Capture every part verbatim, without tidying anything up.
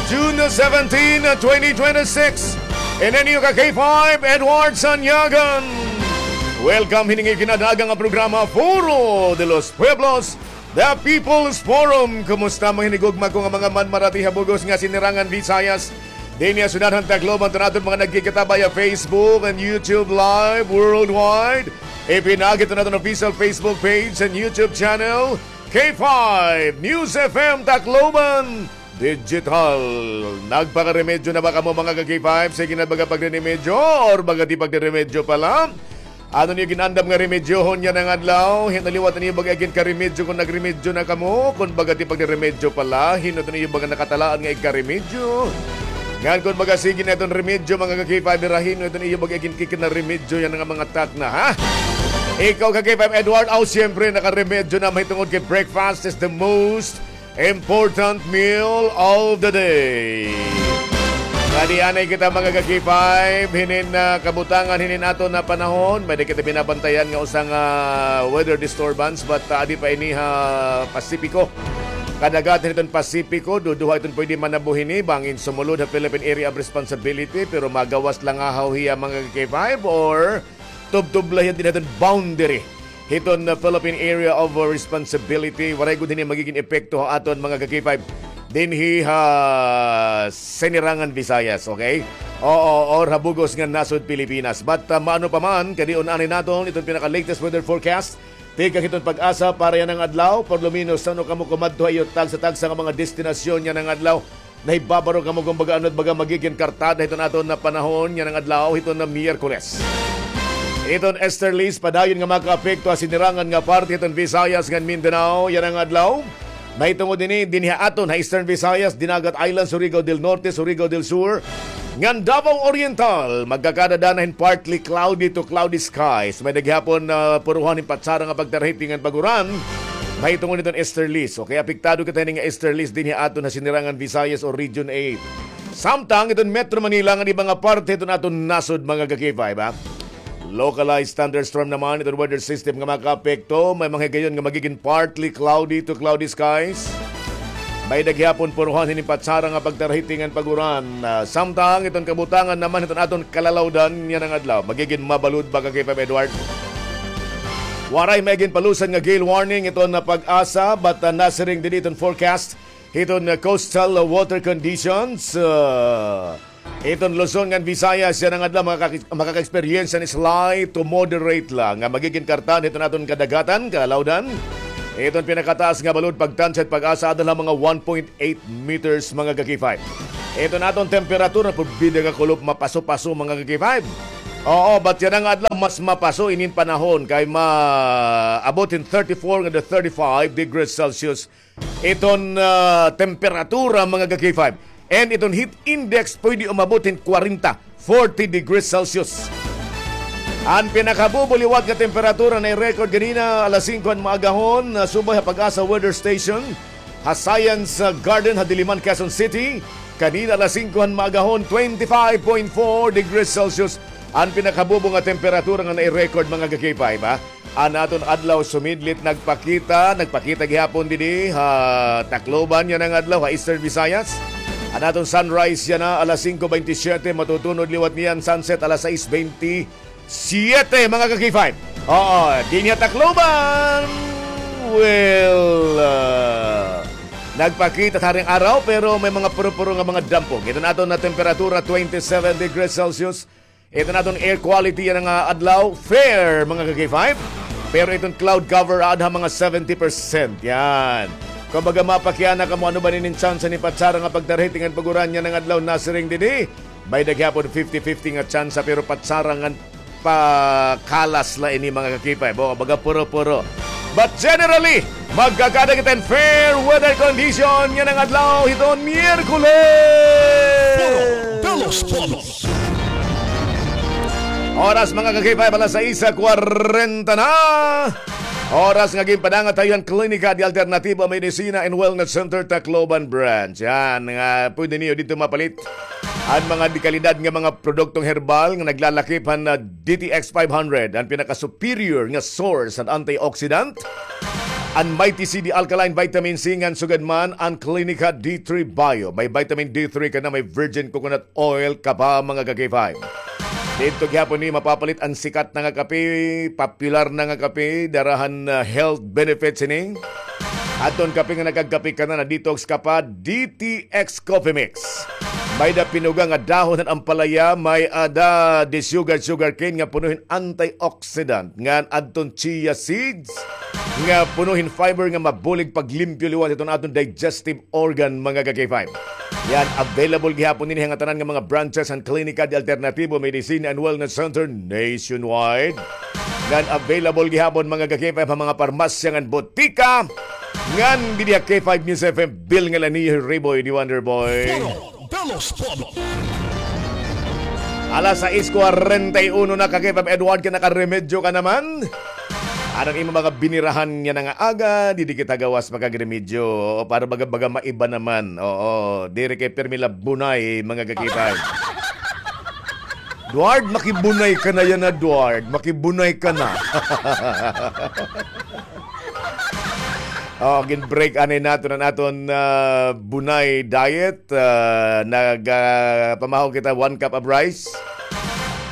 June seventeen, twenty twenty-six. Ini an iyo ka K five, Edward Sanyagan. Welcome hini nga ikinadaaga nga programa, Foro de los Pueblos, The People's Forum. Kumusta, mga hinigugma ko nga mga manmara didi ha bug-os nga sinirangan Visayas? Dinhi ha syudad han Tacloban, an aton mga nagkikita via Facebook and YouTube Live worldwide. Ipinaagi it aton official Facebook page and YouTube channel, K five News F M Tacloban Digital. Nagpakaremedyo na ba kamo, mga ka-K five? Sige na baga pagriremedyo or baga di pagriremedyo pala? Ano niyo gin-andam nga remedyohon yana nga adlaw? Hin-o liwat an iyo baga iginkaremedyo kon nagremedyo na kamo? Kon baga di pagriremedyo pala, hin-o an iyo baga nakatalaan nga igkaremedyo? Ngan kon baga sige na iton remedyo, mga ka-K five, hira hin-o iton iyo baga iginkikinarimedyo yana nga mga takna, ha? Ikaw, ka-K five Edward, aw, siyempre, nakaremedyo na mahitungod kay breakfast is the most important meal of the day. Adi anay kita, mga ka-K five, hinin, ah, kabutangan, hinin aton nga panahon. May-ada kita binabantayan nga usa nga weather disturbance, but, ah, adi pa ini ha Pasipiko. Kadagatan hiton Pasipiko, duduha iton pwede manabo hini, bangin sumulod ha Philippine Area of Responsibility, pero magawas la ngahaw hiya, mga ka-K five, or tubtob la hiya dinhi hiton boundary hiton, uh, Philippine Area of Responsibility. Waray gud hini magigin epekto ha aton, mga ka-K five, dinhi ha Sinirangan Visayas, okay? Oo, or ha bug-os nga nasod Pilipinas. But, uh, maano pa man, kadi-on anay naton iton pinaka-latest weather forecast tikang hiton PAGASA para yana nga adlaw. Por lo menos, san-o kamo kumadto ha iyo tagsa-tagsa nga mga destinasyon yana nga adlaw? Nahibabaro kamo kon baga ano it baga magigin kartada hiton aton nga panahon yana nga adlaw, hiton nga Miyerkules? Iton easterlies padayon nga makaapekto ha sinirangan nga parte hiton Visayas ngan Mindanao yana nga adlaw. Mahitungod ini dinhi ha aton ha Eastern Visayas, Dinagat Islands, Surigao del Norte, Surigao del Sur, ngan Davao Oriental. Magkakadadaan hin partly cloudy to cloudy skies. May-ada gihapon, ah, puruhan hin patsara nga pagtarhiti ngan pag-uran. Mahitungod hiton easterlies. Okay, apektado kita hini nga easterlies dinhi ha aton ha Sinirangan Visayas o Region eight. Samtang iton Metro Manila ngan iba nga parte hiton aton nasod, mga ka-K five, ha? Localized thunderstorm naman iton weather system nga makaapekto. May mga higayon nga magigin partly cloudy to cloudy skies. May-ada gihapon puruhan hini patsara nga pagtarhiti ngan pag-uran. Ah, samtang iton kabutangan naman hiton aton kalalawdan yana nga adlaw, magigin mabalod ba, ka-K five Edward? Waray may ginpalusan nga gale warning iton nga PAGASA, but, ah, nasiring didi iton forecast hiton, ah, coastal, ah, water conditions. Ah, iton Luzon ngan Visayas yana nga adlaw makaka-, makaka-experience hin slight to moderate la nga magigin kartaan hiton aton kadagatan, kalalawdan. Iton pinakataas nga balod pagtansya hit PAGASA adto la mga one point eight meters, mga ka-K five. Iton aton temperatura, porbida nga kulop, mapaso-paso, mga ka-K five. Oo, but yana nga adlaw mas mapaso inin panahon kay maabot hin thirty-four ngan the thirty-five degrees Celsius iton, ah, temperatura, mga ka-K five. And iton heat index pwede umabot hin kwarenta, forty degrees Celsius. An pinakabubo liwat nga temperatura na-record ganina alas singko han maagahon, ah, subay ha PAGASA Weather Station ha Science, ah, Garden ha Diliman, Quezon City. Kanina alas singko han maagahon, twenty-five point four degrees Celsius an pinakabubo nga temperatura nga na-record, mga ka-K five, ha. An aton adlaw sumidlit, nagpakita, nagpakita gihapon didi ha Tacloban yana nga adlaw, ha Eastern Visayas. An aton sunrise yana alas singko bente siyete, matutunod liwat niyan sunset alas sais bente siyete, mga ka-K five. Oo, dinhi ha Tacloban. Well, ah, nagpakita it haring araw, pero may mga puro-puro nga mga dampog. Iton aton nga temperatura, twenty-seven degrees Celsius. Iton aton air quality yana nga adlaw, fair, mga ka-K five. Pero iton cloud cover, aada ha mga seventy percent. Yan. Kumbaga, mapakiana kamo ano ba inin tsansa ni patsara nga pagtarhiti ngan pag-uran yana nga adlaw, nasiring didi. May-ada gihapon fifty fifty nga tsansa, pero patsara ngan pakalas la ini, mga ka-K five. Bo, baga puro-puro. But generally, magkakada kita hin fair weather condition yana nga adlaw hiton Miyerkules. Puro de los Pueblos. Oras, mga ka-K five, alas sais kwarenta na. Oras nga ginpadangat ha iyo an Klinika de Alternativa Medicina and Wellness Center, Tacloban Branch. Yan, nga pwede niyo didto mapalit an mga dekalidad nga mga produktong herbal nga naglalakip han, ah, D T X five hundred, an pinaka-superior nga source han antioxidant. an Mighty C D Alkaline Vitamin C ngan sugad man an Clinica D three Bio. May vitamin D three ka na, may virgin coconut oil ka pa, mga ka-K five. Didto gihapon ni mapapalit an sikat na nga kape, popular na nga kape, dara han, ah, health benefits ini. Aton kape nga nakagkape ka na, na-detox ka pa, D T X Coffee Mix. May-ada pinuga nga dahon han ampalaya, may-ada disugar sugarcane nga puno hin antioxidant, ngan adton chia seeds nga puno hin fiber nga mabulig paglimpyo liwat hiton aton digestive organ, mga ka-K five. Yan, available gihapon ini ha ngatanan nga mga branches han Klinika de Alternativo Medicine and Wellness Center nationwide. Ngan available gihapon, mga ka-K five, ha mga parmasya ngan botika. Ngan didi ha K five News F M, Bill Ngalanihi, Riboy, the Wonder Boy. Puro de los Pueblos. Alas sais kwarenta y uno na, ka-K five Edward, ka nakaremedyo ka naman. Ano an imo mga binirahan yana nga aga, didi kita gawas makagremedyo. Oo, para baga-baga maiba naman. Oo, diri kay pirmi la bunay, mga ka-K five. Duard, makibunay ka na yana, Duard. Makibunay ka na. Oh, gin-break anay naton an aton, ah, bunay diet. Ah, nag, ah, pamahaw kita one cup of rice.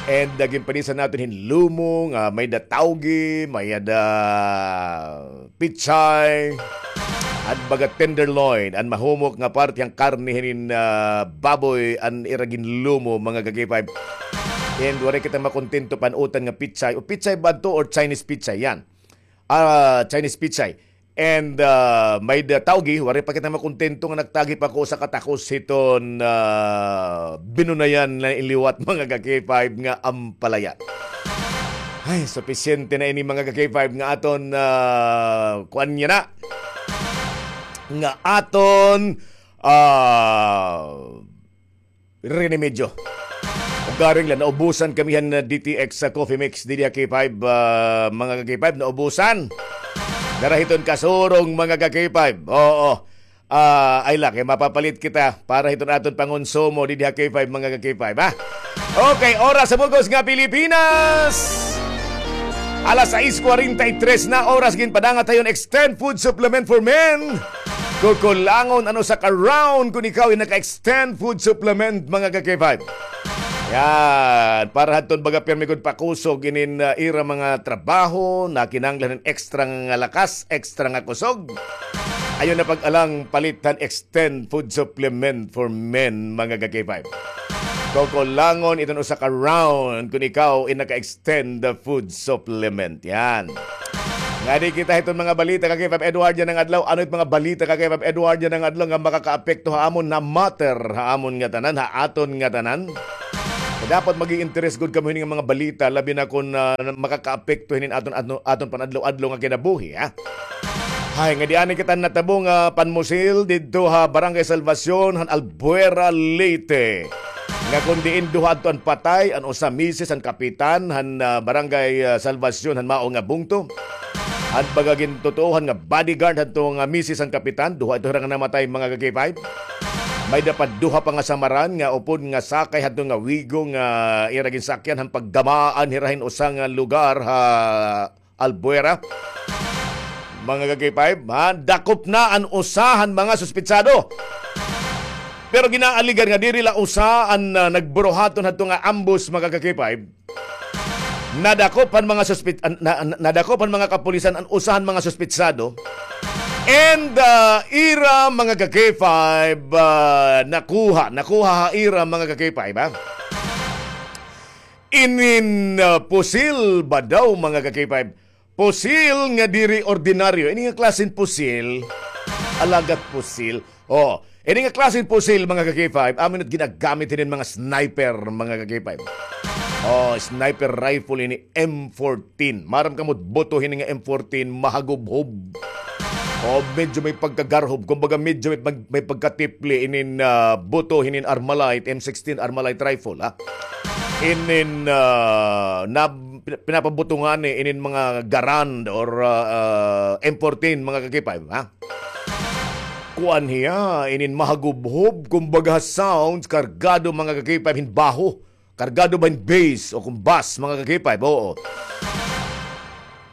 And, ah, ginpanisan naton hin lumo nga may-ada tawgi, may-ada pitsay, an baga tenderloin, an mahumok nga parte han karne hinin, ah, baboy, an ira ginlumo, mga ka-K five. And waray kita makontento pan-utan nga pitsay. O pitsay ba adto or Chinese pitsay? Yan. Ah, Chinese pitsay. And, ah, may-ada tawgi, waray pa kita makontento nga nagtagi pa ko usa ka takos hiton, ah, binunayan na liwat, mga ka-K five, nga ampalaya. Ay, supisyente na ini, mga ka-K five, nga aton, ah, kuan yana. Nga aton, ah, remedyo. Ugaring la, naubusan kami han, ah, D T X sa coffee mix didi ha K five, ah, mga ka-K five, naubusan. Dara hiton Kasurong, mga ka-K five. Oo. Ah, ay la, kay mapapalit kita para hiton aton pangonsumo didi ha K five, mga ka-K five, ha? Okay, oras sa bug-os nga Pilipinas. Alas sais kwarenta y tres na oras, ginpadangat ha iyo an Extend Food Supplement for Men. Kukulangon an usa ka round kon ikaw in naka-Extend Food Supplement, mga ka-K five. Yan, para hadton baga pirmi gud pakusog inin, ah, ira mga trabaho, nakinahanglan hin extra nga lakas, extra nga kusog. Ayaw na pag-alang, palit han Extend Food Supplement for Men, mga ka-K five. Kukulangon iton usa ka round kon ikaw in naka-Extend Food Supplement. Yan. Ngadi kita hiton mga balita, ka-K five Edward, yana nga adlaw. Ano it mga balita, ka-K five Edward, yana nga adlaw nga makakaapekto ha amon, na matter ha amon ngatanan, ha aton ngatanan? Kay dapat mag-i-interes gud kamo hini nga mga balita, labi na kon, ah, makakaapekto hinin aton, aton, aton panadlaw-adlaw nga kinabuhi, ha? Hay, ngadi anay kita natabo nga panmusil didto ha Barangay Salvacion, han Albuera, Leyte. Nga kon diin duha adto an patay, an usa misis han kapitan han, ah, Barangay, ah, Salvacion han mao nga bungto. An baga gintutuohan nga bodyguard hadto nga misis han kapitan, duha ito hira nga namatay, mga ka-K five. May-ada pa duha pa nga samaran nga upod nga sakay hadto nga Wigo nga ira ginsakyan han paggamaan hira hin usa nga lugar ha Albuera. Mga ka-K five, ha? Dakop na an usa han mga suspitsado. Pero ginaaligar nga diri la usa an, ah, nagburuhaton hadto nga ambos, mga ka-K five. Nadakop han mga suspit-, an-, na-, na-, nadakop han mga kapulisan an usa han mga suspitsado. And, ah, ira, mga ka-K five, ah, nakuha, nakuha ha ira, mga ka-K five, ha? Inin, ah, pusil ba daw, mga ka-K five? Pusil nga diri ordinaryo. Ini nga klase hin pusil, alagad pusil. Oh, ini nga klase hin pusil, mga ka-K five, amo ini it ginagamit hinin mga sniper, mga ka-K five. Oh, sniper rifle ini, M fourteen. Maaram kamo it buto hini nga M fourteen, mahagubhob. Oh, medyo may pagkagarhob. Kumbaga, medyo may pag-, may pagkatipli inin, ah, buto hinin Armalite, M sixteen Armalite rifle, ha? Inin, ah, na, pin-, pinapabutungan ni inin mga Garand or, ah, ah, M fourteen, mga ka-K five, ha? Kuan hiya, inin mahagubhob, kumbaga, sounds, kargado, mga ka-K five, hin baho. Kargado ba hin bass o kon bass, mga ka-K five? Oo.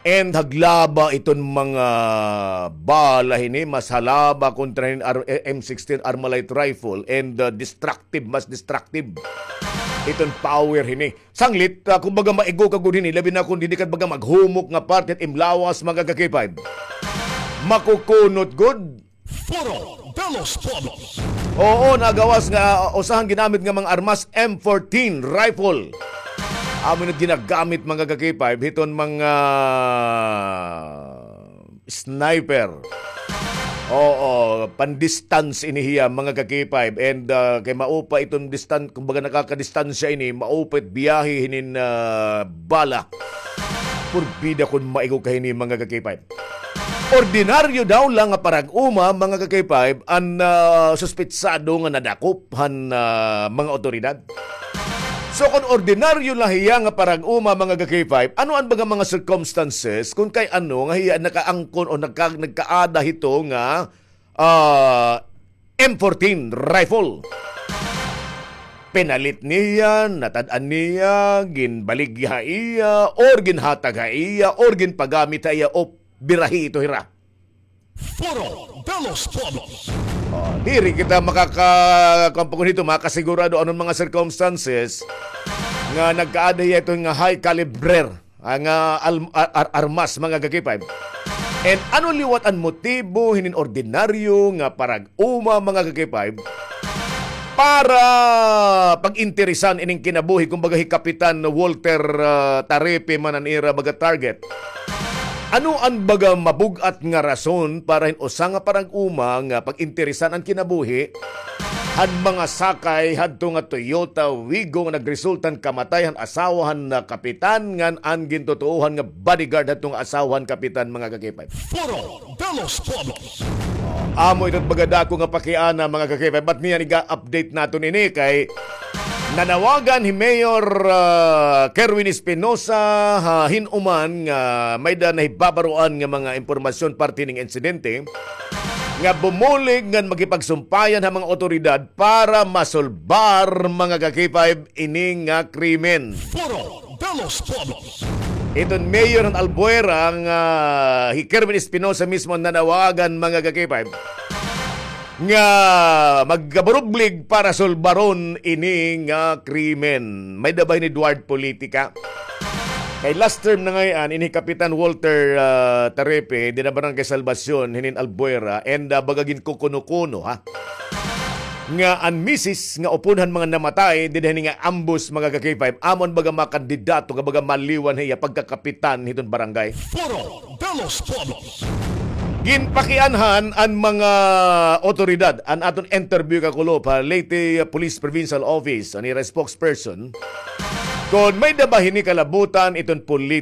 And haglaba iton mga bala hini, mas halaba kontra hin ar-, M sixteen Armalite rifle and, uh, destructive, mas destructive iton power hini. Sanglit, ah, kumbaga maigo ka gud hini, labi na kon didi ka baga maghumok nga parte it im lawas, mga ka-K five. Makukunot gud. Foro de los Pueblos. Oo, nagawas nga, ah, usa han ginamit nga mga armas, M fourteen rifle. Amo na ginagamit, mga ka-K five, hiton mga sniper. Oo, pan-distance ini hiya, mga ka-K five. And, ah, kay maupa iton distan-, kumbaga nakakadistansya ini, maupa it biyahe hinin, ah, bala. Purbida kon maigo ka hini, mga ka-K five. Ordinaryo daw la nga parag-uma, mga ka-K five, an, ah, suspetsado nga nadakop han, ah, mga awtoridad. So, kon ordinaryo la hiya nga parag-uma, mga ka-K five, ano an baga mga circumstances kon kay ano nga hiya nakaangkon o nagka-, nagkaada hito nga, ah, M fourteen rifle? Pinalit niya, natad-an niya, ginbaligya ha iya, or ginhatag ha iya, or ginpagamit ha iya, o birahi ito hira? Foro de los Pueblos. Oh, diri kita makaka-, kuwan pa kun hito, makasigurado anon mga circumstances nga nagkaada hiya ito nga high caliber, ah, nga al-, ar-, ar-, armas, mga ka-K five. And ano liwat an motibo hinin ordinaryo nga parag-uma, mga ka-K five, para pag-interesan ining kinabuhi, kumbaga, hi Kapitan Walter, ah, Tarepe man an ira baga target? Ano an baga mabug-at nga rason para hin usa nga parag-uma nga pag-interesan an kinabuhi han mga sakay hadto nga Toyota Wigo nga nagresulta han kamatay han asawa han, ah, kapitan ngan an gintutuohan nga bodyguard hadto nga asawa han kapitan, mga ka-K five? Foro de los Pueblos. Amo ito it baga dako nga pakiana, mga ka-K five. Ba't niyan iga-update naton ini kay nanawagan hi Mayor, ah, Kerwin Espinosa ha hin-uman nga may-ada nahibabaroan nga mga impormasyon parte ning insidente nga bumulig ngan makipagsumpayan ha mga awtoridad para masolbar, mga ka-K five, ini nga krimen. Foro de los Pueblos. Iton mayor han Albuera nga hi Kerwin Espinosa mismo an nanawagan, mga ka-K five, nga magkabarublig para sulbaron ini nga krimen. May-ada ba hini duward politika? Kay last term na ngay-an, ini Kapitan Walter, ah, Tarepe, dida Barangay Salvacion, hinin Albuera, and, ah, baga ginkukuno-kuno, ha? Nga an misis nga upod han mga namatay dida hini nga ambush, mga ka-K five, amo an baga mga kandidato nga baga maliwan ha iya pagkakapitan hiton barangay. Foro de los Pueblos. Ginpakianhan an mga otoridad, an aton interview kakulop ha Leyte Police Provincial Office, an ira spokesperson, kon may-ada ba hini kalabutan iton politika